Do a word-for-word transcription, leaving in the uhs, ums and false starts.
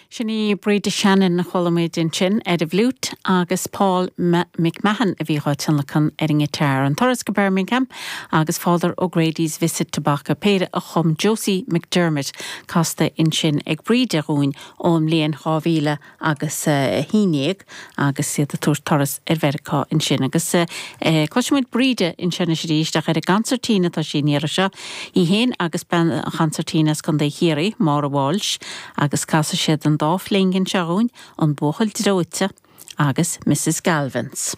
Sin í Bríde Shannon chuala muid ansin ar an bhfliúit agus Paul McMahon a bhí á thionlacan ar an ngiotár an turas go Birmingham agus Father O'Grady's Visit to Bacach péire a chum Josie McDermott casta ansin ag Bríde dhúinn ón mbliain dhá mhíle agus a haon déag agus iad ag tabhairt turas ar Mheiriceá ansin agus cloisfimid Bríde ansin arís ach ar an gconsairtín atá sí an iarraidh seo í féin agus bean chonsairtín as Contae Chiarraí, Máire Walsh agus casfaidh siad an dá phingin seo dhúinn an buachaill dreoite agus Mrs. Galvins.